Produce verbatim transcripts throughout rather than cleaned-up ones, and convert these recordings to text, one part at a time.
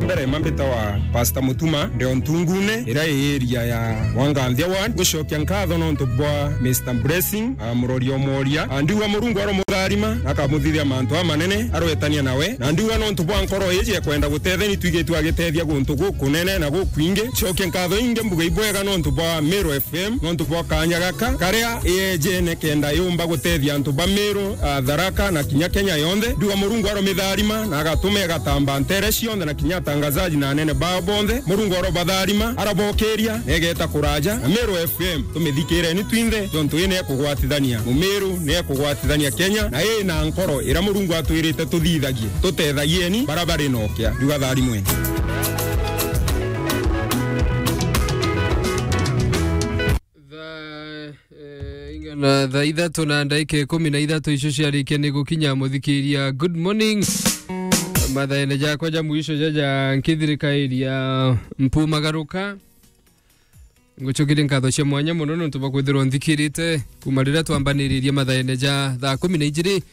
Mbere mambita wa Pastor Mutuma, ndio Ntungune, iria i area ya Wanganthia Ward. Gucokia nkatho nontu bwa Mister Blessing, ah, murori o moria. Ah, ndiuga Murungu aromutharima, akamuthithia mantu amanene, arwetania nawe. Na ndiuga nontu bwa nkoro iji ekwenda gutetheni, twigitwe agitethia guntu gukunene na gukwingi. Cokia nkatho ingi mbuga ibwega nontu bwa Meru F M, nontu bwa kanya gaka, karia iyejene kenda yumba gutethia antu ba Meru, ah, Tharaka na kinya Kenya yonthe. Ndiuga Murungu aromitharima na agatuma igatamba ntere cionthe na kinya atangazaji na anene bao bonthe. Murungu arobatharima, arabokiria, na igeta kuraja. Na Meru F M, tumithikireni twinthe, tontu ii ni ekugwatithania Mumiru, ni ekugwatithania Kenya, na ii na nkoro iria Murungu atwirite tuthithagie. Tutethagieni bara bari nokia. Ndiuga tharimweni. Thaa, eh, ingana thaa ithatu na ndagika ikumi na ithatu icio ciarikia ni gukinya, muthikiria. Good morning. Mathaene jakwa ja mwisho jaja nkithirikairia mpumagaruka. Ngucokeria nkatho cia mwanya mono nontu bwa kwithirwa nthikirite kuma riria twambaniririe mathaene ja thaa kumi na ijiri,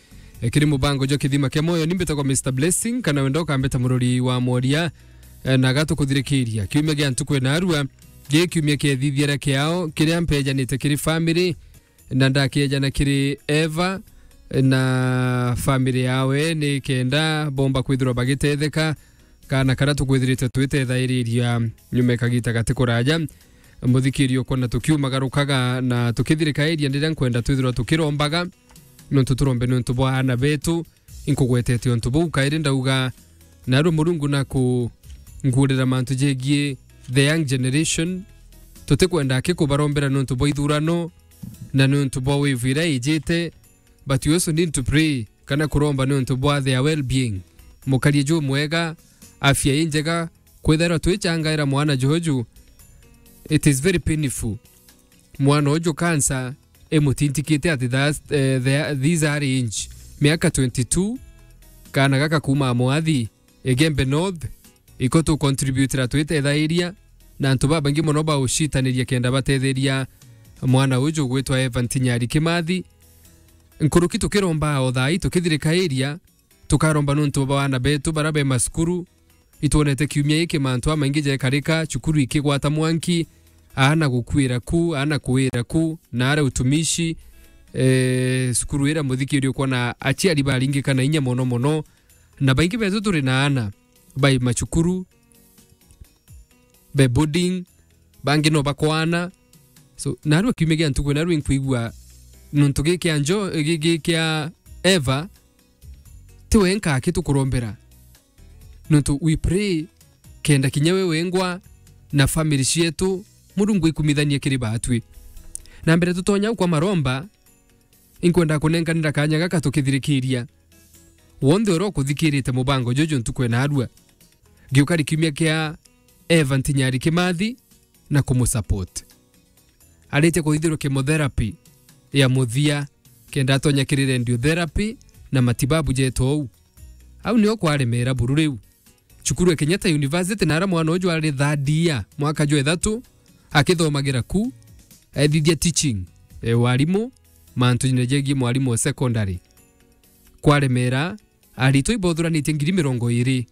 eh, kiri mubango jwa Kithima kia Moyo. Ni mbitagwa Mister Blessing, kana wenda ukambita murori wa mworia, eh, na gatukuthirikiria. Kiumia gia ntuku ina arua, gi kiumia kia ithithiara kiao, kiria mpejanite kiri family, na ndakiejana kiri Eva na family yawe, ni kenda bomba kwithirwa bagitetheka. Kana karia tukwithirite twitethairiria nyuma ya kagita gati kuraja. Muthikiri, ukwona tukiumagarukaga na tukithirikairia, ndiria nkwenda twithirwa tukirombaga, nontu turombe nontu bwa aana betu. Inkugwetete untu buu kairi ndauga, narua Murungu na kungurira mantu jegie the young generation. Tutikwenda akikubarombera nontu bwa ithurano na nontu bwa wave iria ijite, but you also need to pray kana kuromba nontu bwa their well-being. Mukarie jumwega, afya injega, kwithairwa twichangaira mwana juju, it is very painful. Mwana uju cancer imutintikite at that, eh, the, this early age, miaka twenty-two, kana gaka kuma Mwathi, Igembe North, iko tucontributera twitethairia, na antu babaingi mono baucitaniria kenda batetheria mwana uju ugwitwa Evan Tinyari Kimathi. Nkuruki tukiromba o thaa ii tukithirikairia, tukaromba nontu bwa aana betu bara be macukuru. Itwonete kiumia giki mantu amaingi jekarika, cukuru ikigwata mwanki, aana gukuira ku, aana kuira ku, na ara utumishi, eh, cukuru ira muthikiri ukwona aciari baringika na inya mono mono, na baingi betu turi na aana bai macukuru, be boarding, bangi no bakwana. So, narua kiumia gia ntuku, narua inkwigua nontu gi kia njo-, gi, gi kia Eva, ti wenka aki tukurombera. Nontu we pray, kenda kinya we wengwa na family cietu, Murungu ikumithanie kiri batwi. Na mbere tutonya au kwa maromba, inkwenda kunenkanira kanya gaka tukithirikiria. Wonthe uria ukuthikirite mubango juju ntuku ena arua, giukari kiumia kia Evan Tinyari Kimathi na kumusupport. Aritie kuthithirwa chemotherapy ya muthia, kenda atonya kiri radiotherapy na matibabu jeto ou. Au nio kwaremera buru riu. Cukuru ya Kenyatta University, na ara mwana uju ari third year, mwaka jwa ithatu, akithomagira ku, ethithia teaching, e, warimu, mantu jine jegie mwarimu wa secondary. Kwaremera, aritwa ibothuranitie ngiri mirongo iri.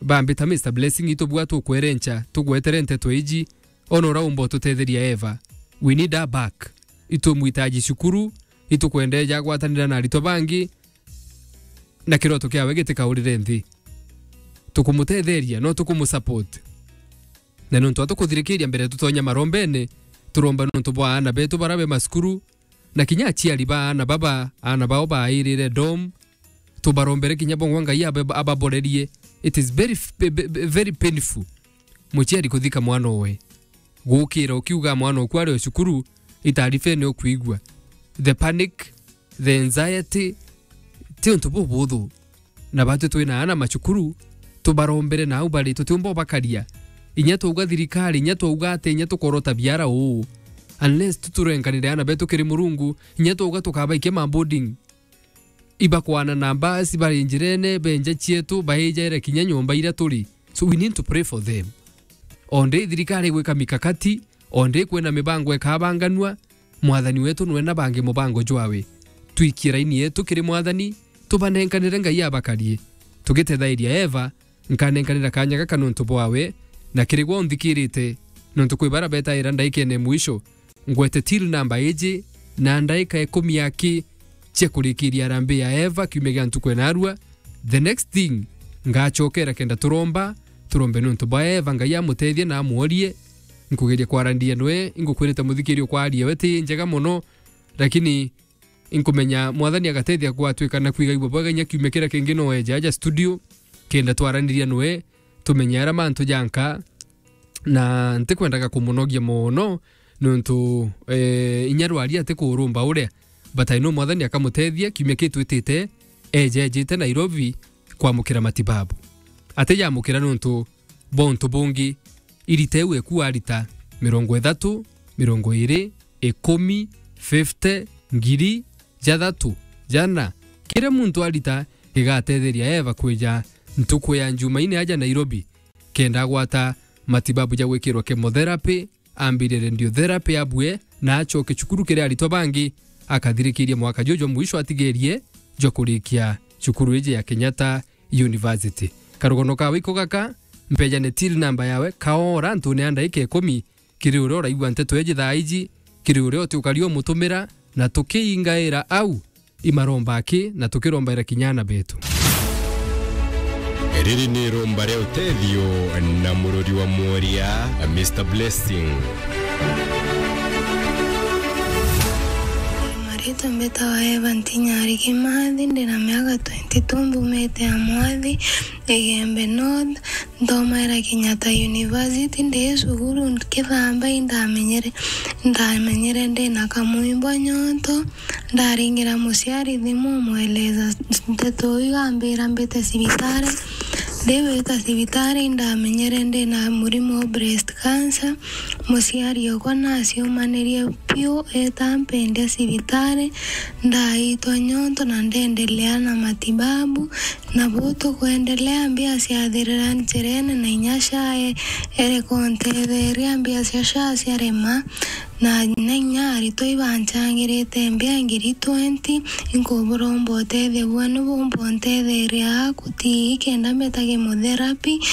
Bambita, Mister Blessing, itubua tukwerencha, tugwetere nteto iji, ona ura umba ututetheria Eva. We need her back. Itumwitaji cukuru, itukwenda eja agwatanira na aritwa bangi, na kiroto kiawe gitikaurire nthi. Tukumutetheria, no tukumusupport. Na nontu atukuthirikiria mbere tutonya marombene, turomba nontu bwa aana betu bara be macukuru, na kinya aciari ba aana baba, aana bao bairire dom, tubarombere kinya bongwa Ngai abe-, ababorerie. It is very f-, be-, be-, be-, very painful. Muciari kuthika mwana owe. Gukira ukiuga mwana oku ari o cukuru, itaarifa ni ukwigua. The panic, the anxiety, ti untu bubuthu. Na batwi twina aana macukuru, tubarombere nau bari, tutiumba ubakaria. Inya twauga thirikari, inya twauga ati, inya tukorota biara uu. Unless tu turenkanire aana betu kiri Murungu, inya twauga tukabaikia ma boarding. Ibakwana na mbasi bari njirene, benja cietu, baijaire kinya nyomba iria turi. So we need to pray for them. Onde thirikari igwika mikakati, onde kwina mibango ikabanganua, Mwathani wetu nwe na bangi mubango jwawe. Twikie raini yetu kiri Mwathani, tubanenkanire Ngai abakarie. Tugitethairia Eva, nkanenkanira kanya gaka nontu bwawe, na kiri gwe unthikirite, nontu kwi bara betaira ndaikene mwisho, ngwete till number iji, na ndaika ikumi aki cia kurikiria harambee ya Eva kiumia gia ntuku ya narua. The next thing, ngacokera kenda turomba, turombe nontu bwa Eva, Ngai amutethie na amworie. Nkugeria kwaraniria nwe, ingukwirite muthikiri ukwaria we ti njega mono, lakini inkumenya Mwathani agatethia gwatwika na kwigaigua bwega inya kiumia kiria kingi no eje aja studio, kenda twaraniria nwe, tumenye ara mantu janka, na ntikwendaga kumunogia mono, nontu, eh, inya rwari ati kurumba uria, but I know Mwathani akamutethia kiumia kitwitite, eje ejite Nairobi kwamukira matibabu. Ati yamukira nontu bwa untu bungi, irita iu eku arita mirongo ithatu, mirongo iri, ikumi, fifty, ngiri, jathatu, jana. Kiria muntu arita gigatetheria Eva kwija ntuku ya Njumaine aja Nairobi, kenda agwata matibabu ja gwikirwa chemotherapy, ambire radiotherapy abue, na acoke cukuru kiri aritwa bangi, akathirikiria mwaka juju mwisho atigerie jwa kurikia cukuru iji ya Kenyatta University. Karugono kawe iko gaka, mpejane till number yawe, kaora antune ya ndaika ikumi, kiri uria uraigua nteto iji thaa iji, kiri uria uti ukari umutumira, na tukiingaira au, imaromba aki, na tukirombaira kinya ana betu. Riri ni iromba ria utethio na murori wa mworia, Mister Blessing. Maritwa mbitawa Eva Ntinyari Kimathi, ndina miaka twenty-two, mbumite ya Mwathi, Igembe North, nthomaira Kenyatta University, ndi cukuru nkithamba indamenyere, indamenyere ndina kamwimbo nyonto, ndaringira muciari thimu umweleza nteto iu, ambira mbite cibitari, ndiwita cibitari, indamenyere ndina murimo wa breast cancer, muciari okwa naciumanirie piu, eta mpendia cibitari, ndaitwa nyonto na ndendelea na matibabu, na buu tukwendelea, mbia ciathirira njirene na inya SHA e-, ereka untetheria, mbia cia SHA ciarema, na, na inya aritwa ibancangirite mbia ngiri twenty, inkuburomba utethio bwenu bumba untetheria aku tii kenda mbeta chemotherapy,